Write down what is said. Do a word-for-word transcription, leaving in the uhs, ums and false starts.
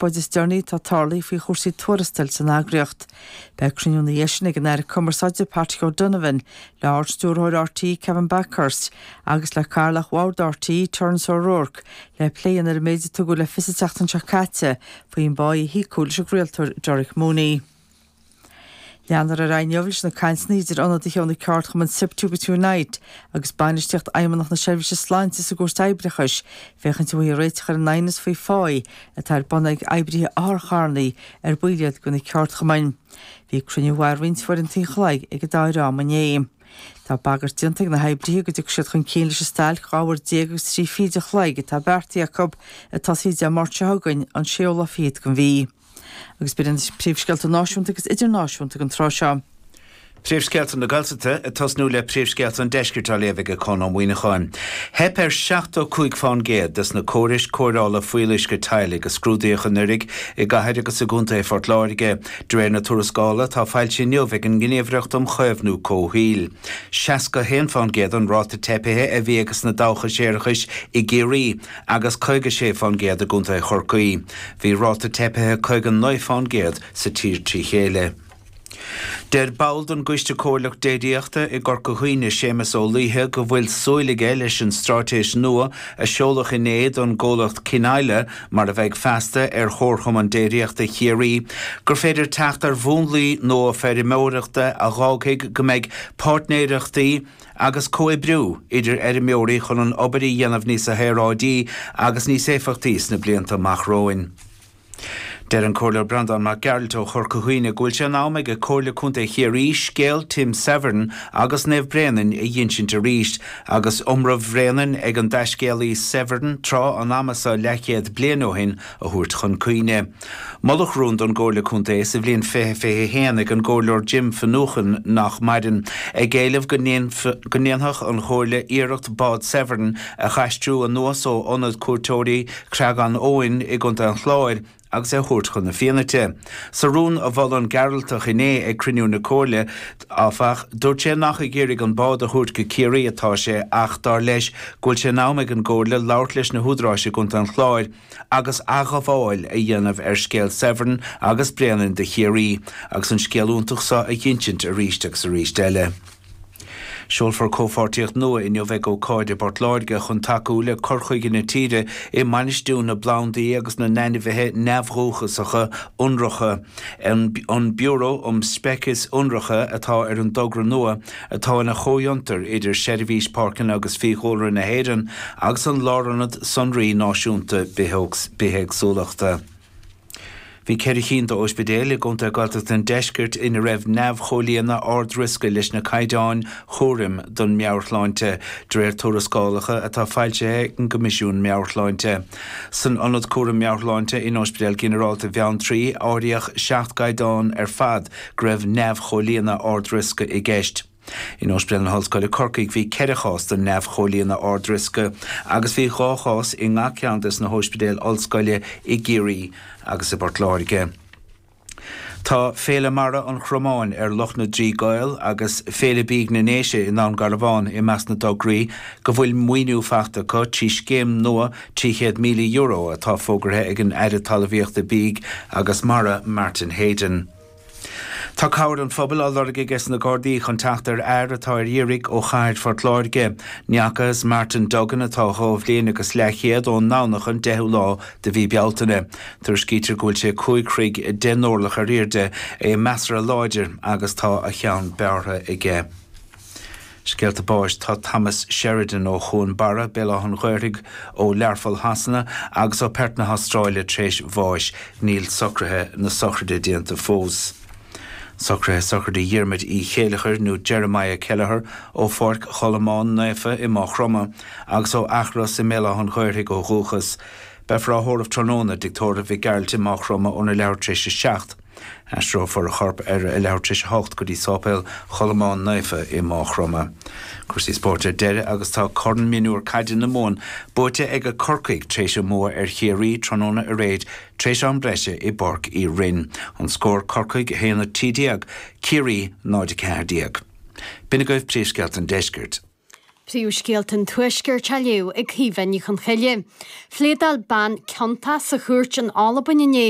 chonspóid is deireanaí atá tarlaithe faoi chúrsaí tuarastail san eagraíocht. Beidh cruinniú ina dhiaidh sin ag an Aire Cumarsáide Patrick O'Donovan le Ard-Stiúrthóir RTÉ Kevin Bakhurst agus le Cathaoirleach Bhord RTÉ Terence O'Rourke le plé ar an méid a tugadh le fios an tseachtain seo caite faoin bpá a híocadh leis an gcraoltóir Derek Mooney. Leanfar ar aghaidh inniu leis na cainteanna idir ionadaithe ó na ceardchumainn SIPTU agus Unite agus bainistíocht Fheidhmeannacht na Seirbhíse Sláinte sa gCúirt Oibreachais féachaint an bhfaighfí réiteach ar an aighneas faoi phá atá ar bun ag oibrithe otharcharranna ar baill iad de na ceardchumainn. Bhí cruinniú mhaith roinnt foireann an chloig ag an dá dhream inné. Tá bagairt déanta ag na hoibrithe go dtiocfaidh siad chun cinn leis an stailc dhá uair déag agus trí fichid an chloig atá beartaithe acu ag tosaí Dé Máirt seo chugainn an séú lá fichead den mhí. Agus b'in na príomhscéalta náisiúnta agus idirnáisiúnta don tráth seo. Príomhscéalta na Gaeltachta ag tosnú le príomhscéalta an deiscirt á léamh ag Conn Ó Muíneacháin. Theip ar seachtó cúig faoin gcéad des na córais cóireála fuíolluisce teaghlaigh a scrúdaíodh anuraidh i gcathair agus i gContae Phort Láirge, de réir na tuarascála atá foilsithe inniu ag an nGníomhaireacht um Chaomhnú Comhshaoil. Seasca haon faoin gcéad an ráta teipithe a bhí ages na dabhcha séarachais i gCiarraí agus caoga sé faoin gcéad i gContae Chorcaí. Bhí ráta teipithe caoga naoi faoin gcéad sa tír trí chéile. Deir ball den gCoiste Comhairleach Déiríochta i gCorca Dhuibhne, Séamus Ó Laoithe, go bhfuil súil aige leis an straitéis nua a seoladh inné don gcomhlacht Cineáile, mar a bheidh feasta ar Chomharchumann Déiríochta Chiarraí, gur féidir teacht ar mhúnlaí nua feirmeoireachta a dh'fhágfaidh go mbeidh páirtnéireachtaí agus comhoibriú idir fheirmeoirí chun an obair a dhéanamh níos aeráidí agus níos éifeachtaí sna blianta amach romhainn. Deir an Comhairleoir Breandán Mac Gearailt ó Chorca Dhuibhne go bhfuil sé in am ag Comhairle Contae Chiarraí scéal Tim Severn agus Naomh Bréanainn a dh'insint arís agus iomramh Bhréanainn ag an dtaiscéalaí Severn tráth an ama seo leathchéad bliain ó shin a thabhairt chun cuimhne. Moladh rún don gComhairle Contae sa bhliain fiche fiche a haon ag an gComhairleoir Jim Finucane nach maireann, ag éileamh go ndéanfadh an Chomhairle iarracht bád Severn a dh'aistriú anuas ó ionad cuairteoirí Chreagán Eoin i gContae an Chláir agus é a thabhairt chun na Fianaite. Sa rún a mhol an Gearaltach inné ag cruinniú na Comhairle, áfach, dúirt sé nach ag iarraidh an bád a thabhairt go Ciarraí atá sé ach dar leis go bhfuil sé in am ag an gComhairle labhairt leis na húdaráis i gContae an Chláir agus athghabháil a dhéanamh ar scéal Severn agus Bréanainn do Chiarraí agus an scéal iontach seo a dh'insint arís agus arís eile. Seolfar comhpháirtíocht nua inniu ag ócáid i bPort Láirge chun tacú le cur chuige na tíre i mbainistiú na bplandaí agus na n-ainmhithe neamhdhúchasacha ionracha. An Biúró um Speicis Ionracha atá ar an dtogra nua atá ina chomhfhiontar idir Seirbhís Páirceanna agus Fiadhúlra na hÉireann agus an Lárionad Sonraí Náisiúnta Bithéagsúlachta. Bhí ceithre cinn d'ospidéil i gContae Gaeltachta an Deiscirt ina raibh neamhchomhlíonadh ard-riosca leis na caighdeáin chúraim don meabhairshláinte, de réir tuarascálacha atá foilsithe ag an gCoimisiún Meabhairshláinte. San Ionad Cúraim Meabhairshláinte in Ospidéal Ginearálta Bheanntraí áiríodh seacht gcaighdeán ar fad go raibh neamhchomhlíonadh ard-riosca i gceist. In Ospidéal na hOllscoile Corcaigh bhí ceithre chás den neamhchomhlíonadh ard-riosca agus bhí dhá chás i ngach ceann des na hóispidéil ollscoile i gCiarraí agus i bPort Láirge. Tá Féile Mara an Chromáin ar Loch na dTrí gCaol agus Féile Bídh na nDéise i nDún Garbhán i measc na dtograí go bhfuil maoiniú faighte acu trí scéim nua trí chéad míle euro atá fógartha ag an Aire Talmhaíochta Bídh agus Mara Martin Heydon. Tá cabhair an phobail á lorg aige na Gardaí chun teacht ar fhear atá ar iarraidh ó chathair Phort Láirge. Ní fhacthas Martin Duggan atá dhá bhliain agus leathchéad ón nDomhnach an deichiú lá de mhí Bealtaine. Tuairiscítear go bhfuil sé cúig throigh deich n-orlach ar airde, é measartha láidir agus tá a cheann bearrtha aige. Scéalta báis tá Thomas Sheridan ó Chuan Barra, Béal Átha an Ghaorthaidh ó Learpholl Shasana agus ó Perth na hAstráile tar éis bháis. Níl socruithe na sochraide déanta fós. Socruithe sochraide Dhiarmuid Uí Chéileachair nó Jeremiah Kelleher ó Pháirc Cholmáin Naofa i Maigh Chromtha agus ó Eachros i mBéal Átha an Ghaorthaidh ó dhúchas. Beifear á thórramh tráthnóna i dTigh Tórraimh Mhic Gearailt i Maigh Chromtha óna leathuair tar éis a seacht. Aistreofar a chorp ar a leathuair tar éis a hocht go dtí Sáipéal Cholmáin Naofa i Maigh Chromtha. Cúrsaí spóirt ar deireadh agus tá Corn Mionúr Caide na Mumhan buaite ag Corcaigh tar éis a mbua ar Chiarraí tráthnóna aréir tar éis am breise i bPáirc Uí Rinn. An scór Corcaigh a haon a trí déag, Ciarraí náid a ceathair déag. B'in agaibh príomhscéalta an deiscirt. Príomhscéalta an Tuaiscirt á léamh ag Caoimhe Ní Chonchoille. Phléadáil bean ciontach sa chúirt in Albain inné